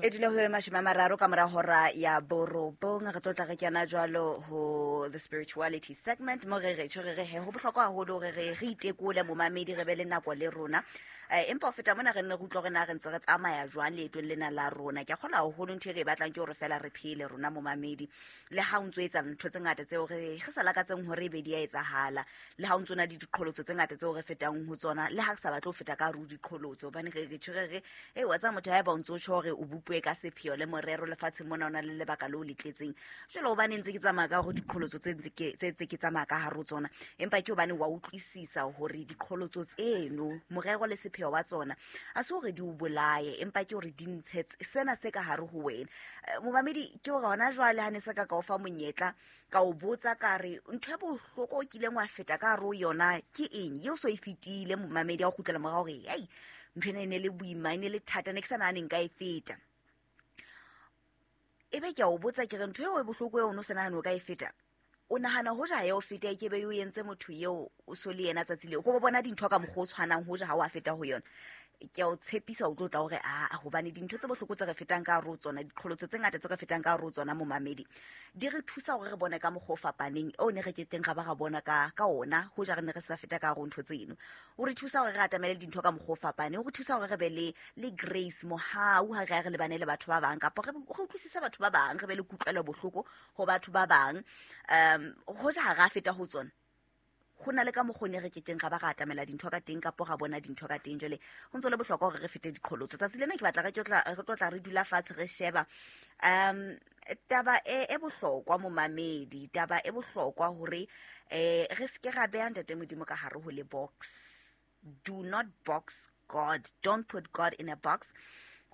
E dula ho 30 ka mora hora ya 9. Re tlo tla re kena jwalo ho the spirituality segment, mo re re tjho re re he ho bohlokwa haholo hore re re itekole, momamedi, re be le nako le rona. Empa ho feta mona, re nne re utlwa hore na re ntse re tsamaya jwang leetong lena la rona. Ke a kgolwa haholo ntho e re e batlang ke hore fela re phele rona, momamedi. Le ha o ntso etsa ntho tse ngata tseo re sa lakatseng hore e be di a etsahala, le ha o ntso na le diqholotso tse ngata tseo re fetang ho tsona, le ha re sa batle ho feta ka hare ho diqholotso, hobane re re tjho re re e wa tseba motho, haeba o ntso tjho hore o bopuwe ka sepheo le morero lefatsheng mona, o na le lebaka leo le tletseng jwale, hobane ntse ke tsamaya ka hore diqholotso tse ntse ke tse ke tsamaya ka hare ho tsona, empa ke hobane wa utlwisisa hore diqholotso tseno morero le sepheo wa tsona a se hore di o bolaye, empa ke hore di ntshe sena se ka hare ho wena. Momamedi, ke hore hona jwale ha ne se ka ka o fa monyetla, ka o botsa ka re ntho e bohloko o kileng wa feta ka hare ho yona ke eng, eo so e fetile, momamedi, a o kgutlela morao hore ei, ntho ena e ne le boima, e ne le thata, ne ke sa nahane nka e feta. Ebe ke a o botsa ke re ntho eo e bohloko eo o ne o sa nahane o ka e feta, o nahana hoja ha ya o feta e kebe o entse motho eo o so le yena tsatsi leo, ko bo bona dintho ka mokgwa o tshwanang hoja ha o a feta ho yona? Ke a o tshepisa o tlo tla hore aa, hobane dintho tse bohloko tse re fetang ka hare ho tsona, diqholotso tse ngata tse re fetang ka hare ho tsona, momamedi, di re thusa hore re bone ka mokgwa o fapaneng o ne re keteng ra ba ra bona ka ona hoja re ne re sa feta ka hare ho ntho tseno. O re thusa hore re atamele dintho ka mokgwa o fapaneng, o re thusa hore re be le grace, mohau, ha re ya re lebane le batho ba bang, kapa re utlwisise batho ba bang, re be le kutlwelo bohloko ho batho ba bang. Hoja ha re a feta ho tsona, ho na le ka mokgwa o ne re kekeng ra ba ra atamela dintho ka teng, kapo ra bona dintho ka teng. Jwale ho ntso le bohlokwa hore re fete diqholotso. Tsatsi lena ke batla re tlo tla re dula fatshe, re sheba taba e bohlokwa, momamedi, taba e bohlokwa hore re seke ra beha Ntate Modimo ka hare ho le box. Do not box God, don't put God in a box,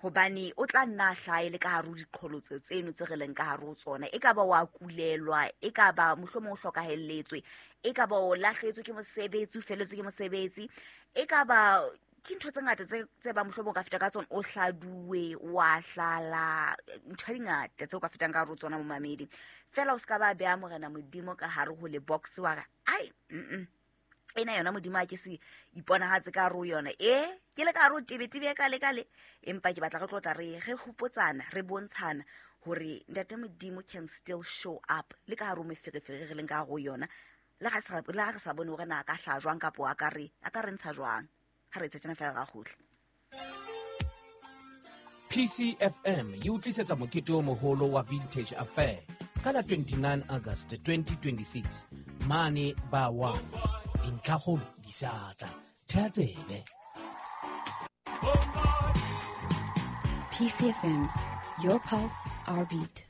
hobane o tla nna a hlahe le ka hare ho diqholotso tseno tse re leng ka hare ho tsona. E ka ba wa kulelwa, e ka ba mohlomong o hlokahelletswe, e ka ba o lahlehetswe ke mosebetsi, o feletswe ke mosebetsi, e ka ba ke ntho tse ngata tse ba mohlomong o ka feta ka tsona, o hladuwe, wa hlala, ntho di ngata tse o ka fetang ka hare ho tsona, momamedi. Fela o se ka ba beha Morena Modimo ka hare ho le box, wa re ai, ena yona Modimo a ke se iponahatse ka hare ho yona, e ke le ka hare ho tebetebe ka le ka le. Empa ke batla re tlo tla re hopotsana, re bontshana hore Ntate Modimo can still show up le ka hare ho meferefere re leng ka hare ho yona, le ha re sa bone hore na a ka hlaha jwang, kapo a ka re ntsha jwang. Ha re etse tjena fela ra kgutla. PCFM e o tlisetsa mokete o moholo wa Vintage Affair ka la 29 August 2026 mane ba 1. Dintlhakgolo di sa tla, thea tsebe. PCFM, your pulse, our beat.